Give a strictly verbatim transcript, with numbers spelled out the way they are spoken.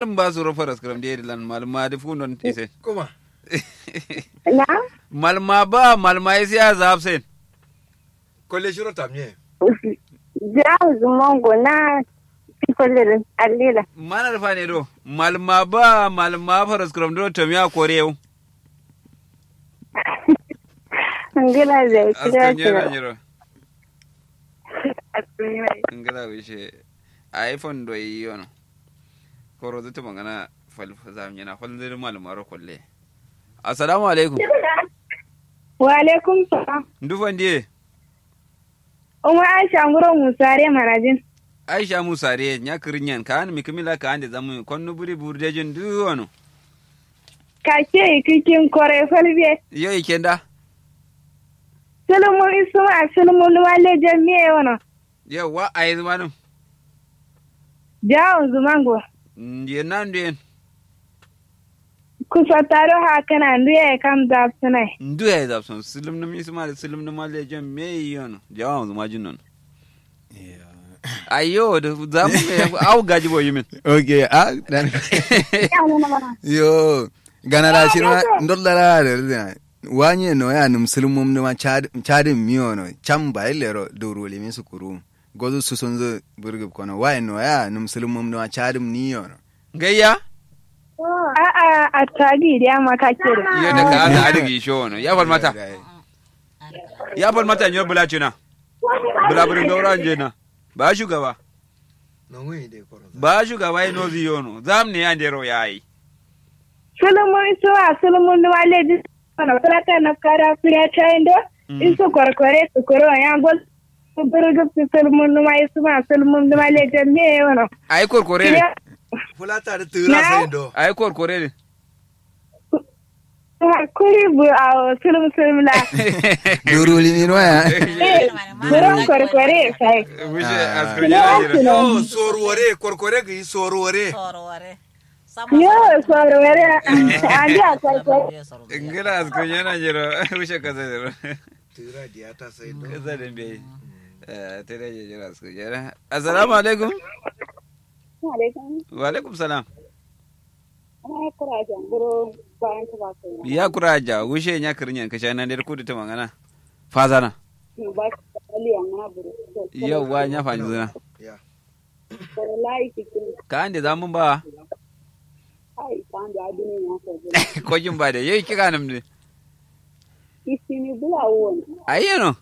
Malum ba suro faras kram de lan malum ma duk fundon isen. Kuma. Na? Malum ma ba malum ma isi ya zafsen. Kolle shiro tamye. Ja zumongo na. Kolle din allila. Mana da fane do malum ma ba malum ma faras kram do tamya korew. Ngila zai kira kira. Ngila wishe. Ai fondo yi yono. Koro zutu mangana fal zam yana fal zai malum maro kolle. Assalamu alaikum. Wa alaikum salam. Ndu fandiye. Umma aisha nguro musare marajin. Aisha musare nya kirinyan ka an mikimila ka ande zamu konnu buri burdejin duwono. Kake ikikin kore falbe. Yo ikenda. Sulumu isuma sulumu lumale jamiye wono. Yawwa ayi zumanum. Jawon zumango. Ndiyen na ndiyen. Kusottaro hakkǝna nduye ye kam zapsǝnai. Nduye ye zapsǝn sǝlǝmnǝm isǝma dǝ sǝlǝmnǝm alle jon meyi yono jawawonzǝ ma jinnon. Ayyo dǝ zamu me awu gaji bo yimin. Ok a. Yo gana la shirma ndollara dǝ rizina. Wanye noya nǝm sǝlǝmnǝm dǝma cadǝm miyono cam bayi lero duru limi sukuru. Gozu susunzu burgub kono waye noya nǝm sǝlǝmnǝm dǝma cadǝm niyono. Ngaiya. A'a attagi diya ma kakke do. Iyo da ka ada adigi isho wono ya falmata. Ya falmata nyo bula cina. Bula buri ngaura njena. Ba shugaba. Ba shugaba ino ziyono zamne ya ndero yayi. Sulumun suwa sulumun numa leji. Kono fulata nafkada furiya cayindo. Isu korkore sukuro ya gol. Burgub sǝlmǝnduma isǝma sǝlmǝnduma lejen ne yono. Ayi korkore ne. Fulata da tǝra sai do ayi korkore ne. Kuri bu awo sǝlmǝ sǝlmǝ la. Duru limi no ya. Buron korkore sai. Bushe askar yana jira. Yo sorwore korkore gǝyi sorwore. Yo sorwore. Andi a korkore. Ngila askar yana jira. Bushe kasa jira. Tira diya ta sai do kasa da bai. Tira je jira su jira. Assalamu alaikum. Wa alaikum salam. Ya kura aja wushe nya kirinyan kasha nan dai kudu ta magana. Fazana. Yawwa nya fanzuna. Ka ande zamun ba. Kojin ba da yai kika nam ne. Isini bula won. Ayyano.